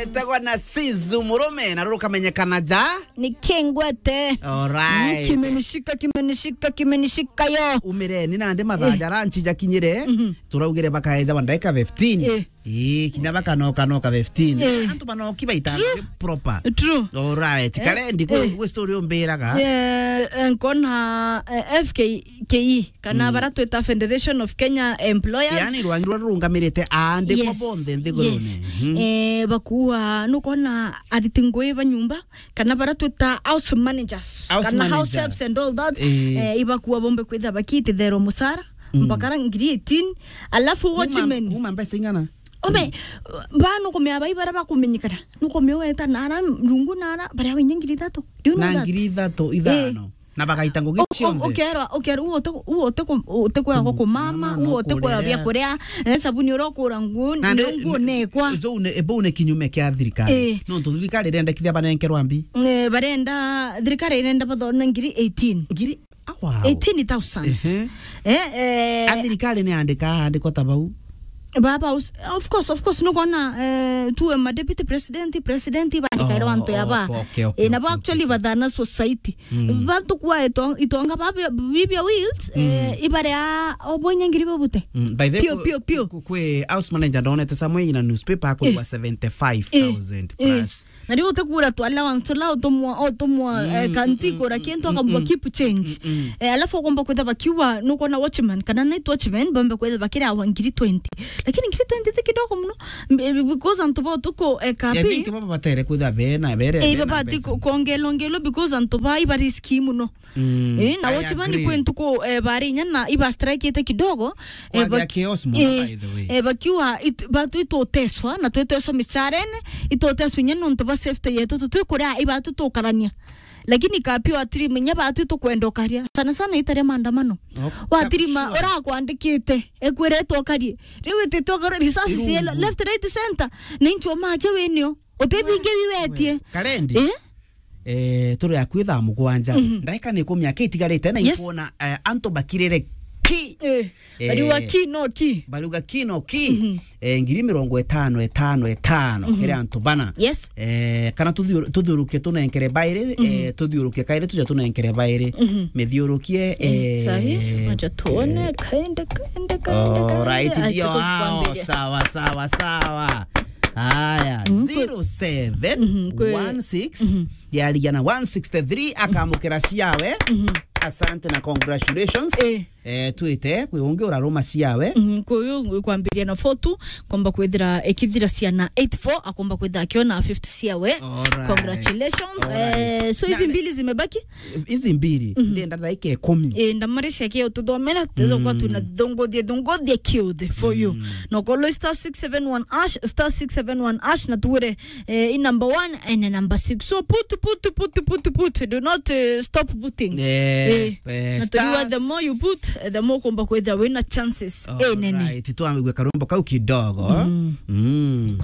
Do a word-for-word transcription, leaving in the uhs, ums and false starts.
Etagwa na Sizu Murume, na ruru kamenyekana ja? Ni Kingwete. Alright. Mm, kimenishika, kimenishika, kimenishika yo. Umire, ni nandi mathaa ja lunch jakinyire. Mhm. Turaugire bakaeja wa ndagika fifteen. Eh. Ii, kinya bakanoka noka fifteen. Eh. Antu banoki baita proper. True. Alright. Eh, kare ndi kwe, eh, kwe story umbiraga. Eh, eh, nkona, eh, F K K E, kana, mm, bara twita Federation of Kenya Employers. Yani rwangi rwa rurungamirite aandikwa, yes, bonthe nthigurune. Yes. Mhm. Eh, bakua, nukona ariti ngui ba nyumba, kana bara twita house managers, house kana house manager, helps and all that. Eh. Eh, ibakua bombe kwitha bakititherwa musara, mm, mpaka ra ngiri eighteen, alafu kuma, watchman. Kuma mbeca ing'ana? Ome, ba nukumea bai bara bakumenyekana. Nukumea weta nara rungu nara, baria winya ngiri ithatu. Do you know that? Na ngiri ithatu, ithano. Eh. Na bagaita ngugi cionthe. Ukerwa, ukerwa, u uti-, u uti-, u utikwea gukumama, u utikwea biakuria, eh, sabuni uria ukura nguo, na ndio nguo nekwa. Bau ne, bau ne kinyume kia thirikari. Eh. Nontu thirikari irendekithia banenkerwa mbi. Eh, barenda, thirikari irenda bathone ngiri eighteen. Ngiri, ah, wow. Eighteen thousand. Ehe. Eh, eh. A thirikari ni andika, andikwa ta bau. Baba, us-, of course, of course, nukona, eh, tuwe ma deputy president, president, bandikaire, oh, antu ya ba. Okay, okay, eh, nabo okay, actually okay, bathana society. Mm. Bantu kwa ito-, itonga ba bi-, bibia wills, mm, eh, ibaria obonya ngiri bobute. Mm, by the way, pio, ku-, pio, pio. Ku-, kwi house manager ndonete samwe ina newspaper akurwa, eh, seventy-five thousand, eh, plus. Na riu utikura tu allowance, tula utumwa, utumwa, mm, eh, kanti, mm, kura kintu, mm, akauga, mm, keep change. Mm, mm. Eh, alafu ukomba kwitha bakiuga, nukona watchman, kana night watchman, bambe kwitha bakira wa ngiri twenty. Lakini ngiri twenty ti kidogo muno. M-, eh, because antu ba utuku, eh, kapi. I think baba batere kwitha bena, bere, eh, bena baba ti mbeca. Ku-, kuongelwa, ongelwa because antu ba iba riski muno. Mm, eh, na I watchman agree. Kwi ntuku, eh, bari inya na iba strike ite kidogo, eh, kwagea chaos muno, eh, by the way. Eh, bakiuga it-, batu ituteswa, na twiteswa micharene, ituteswa inya nontu ba safety yetu, tutikuria ibatu tukarania. Lakini kapi watirima inya batu tukwenda ukaria. Sana sana itaria maandamano. Oh, watirima, sure. Urakwandikite, ekwiretwo ukarie. Riu ititwe ukaria risasi cielo, left, right, center. Ni nchoma akia winio. Utibinge wiwetie. Karendi. Eh? Eh, turi akui thaa mugwanja. Mhm. Ndaika ni ikumi aki itigarite na, yes, inkuona, eh, antu bakirire ki. Eh, eh, bariuga ki no ki. Bariuga ki no ki. Mhm. Eh, ngiri mirongo itano, itano, itano, mhm, kiri antu bana. Yes. Eh, kana tuthiu-, tuthiurukie tunenkere bairi, mhm, eh, tuthiurukie kairi tuja tunenkere bairi. Mhm. Mithiurukie, eh, eh, sahi, acha tuone, ke-, kaende, kaende, kaende, kaende. Alright, acha ndio hao. Tukwambie. Sawa, sawa, sawa. Haya, mhm, kwe-, zero seven one six, mhm, kwe-, mhm, yarigia na one sixty-three, akamukira ciawe. Mhm. Asante na congratulations. Eh. Eh, twite, kwi ungi uraruma ciawe. Mhm, kwi uyu kwambiria na four two, komba kwithira ikithira ciana eight four, akomba kwithira akiona fifty ciawe. Alright. Congratulations. Alright. Eh, so hizi mbili zimebaki? Hizi mbili, mhm, ndenda dakika ikumi. Eh, ndamari ciake ututhomera, tuweza kuwa, mm, tunadhongothia, dhongothia kiuthe for you. Mm. Na ukorwo star six seven one hash, star six seven one hash, na tuwire, eh, i number one and number six. So put, put, put. Do not, eh, stop putting. Eh, eh, eh, na tuliwa, the more you put, eh, the more kumba kwithira wina chances. All right, nene. Twamigwe karumbo kau kidogo. Mm. Mm.